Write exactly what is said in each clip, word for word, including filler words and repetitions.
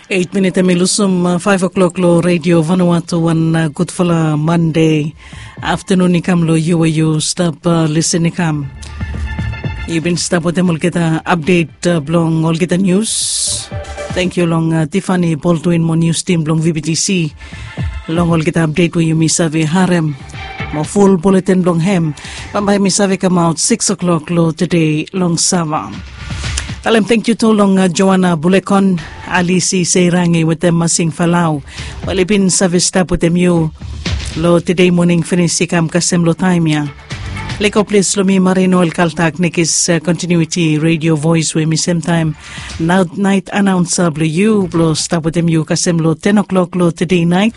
Eit minit em i lusum faiv o'klok long redio Vanuatu. Wan gudfala Mande aftanun i kam long yu we yu stap lisen i kam. Yu bin stap wetem olgeta apdet blong olgeta nius. Tangkiu long Tifani Baldwin mo nius tim blong VBTC long olgeta apdet we yumi save harem. Mo ful buletin blong hem bambae mi save kamaot sikis o'klok long tede long sava. Talem tangkiu tu long Joana Bulekon, Alisi Seirangi wetem Masing Falau we oli bin save stap wetem yu long tede moning finis i kam kasem long taem ya. Lego ples long mi Marino El Kaltak, nekis kontinuiti redio voes we mi semtaem naet anaonsa blong yu blong stap wetem yu kasem long ten o'klok long tede naet.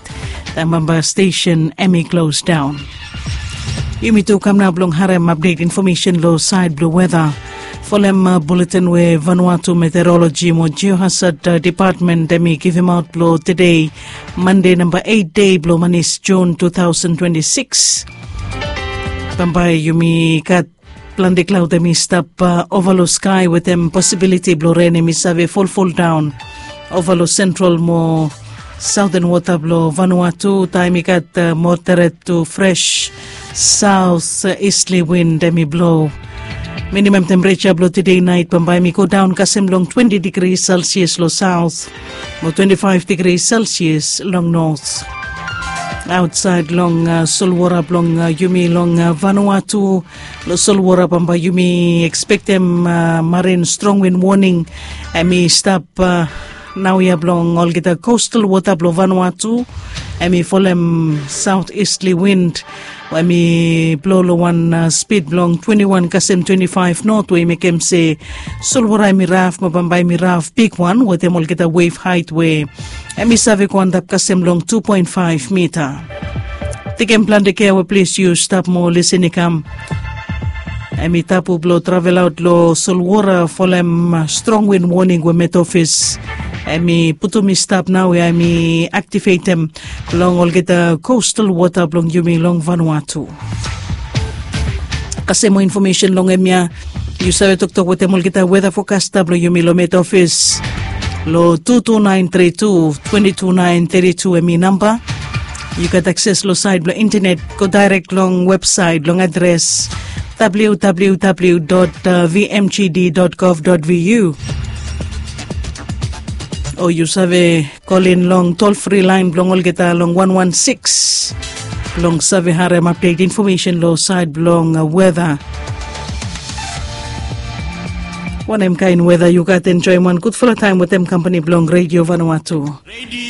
Taem bambae stesen em i klosdaon. Yumi tu kam nao blong harem apdet infomesen long saed blong weta. Folem buletin we Vanuatu Meteoroloji mo Jiohasad Depatmen em i givimaot blong tede Mande namba eit dei blong manis Jun tu taosen twenti sikis. Bambae yumi gat plante klaod em i stap ova long skae wetem posibiliti blong ren em i save folfoldaon ova long sentral mo saoten wota blong Vanuatu. Taem i gat moderet tu fres saot istli win em i blo. Minimam tempereja blong tede naet bambae em i godaon kasem long twenti digri selsias long saot mo twenti faef digri selsias long not. Aotsaed long solwora blong yumi long Vanuatu, long solwora bambae yumi ekspektem marin strong win woning em i stap naoia blong olgeta kostal wota blong Vanuatu. Em i folem saot istli win we em i blo long wan spid blong twenti wan kasem twenti faef not we i mekem se solwora em i raf mo bambae em i raf bigwan wetem olgeta wef haet we em i save go antap kasem long tu poen faef mita. Tekem plante kea we ples yu stap mo lisen i kam. Em i tapu blong travelaot long solwora folem strong win woning we met ofis em i putum i stap nao ya em i aktivetem long olgeta kostal wota blong yumi long Vanuatu. Kasem moa infomesen long hemia, yu save toktok wetem olgeta weta fokasta blong yumi long met ofis long tu tu naen tri tu twenti tu naen tri tu em i namba. Yu gat akses long saed blong intenet, go daerek long websaet long adres www vmgd gov vu. O yu save kolin long tolfri laen blong olgeta long wan wan sikis blong save harem apdet infomesen long saed blong weta. Wanem kaen weta yu gat? Enjoem wan gudfala taem wetem kampani blong redio Vanuatu.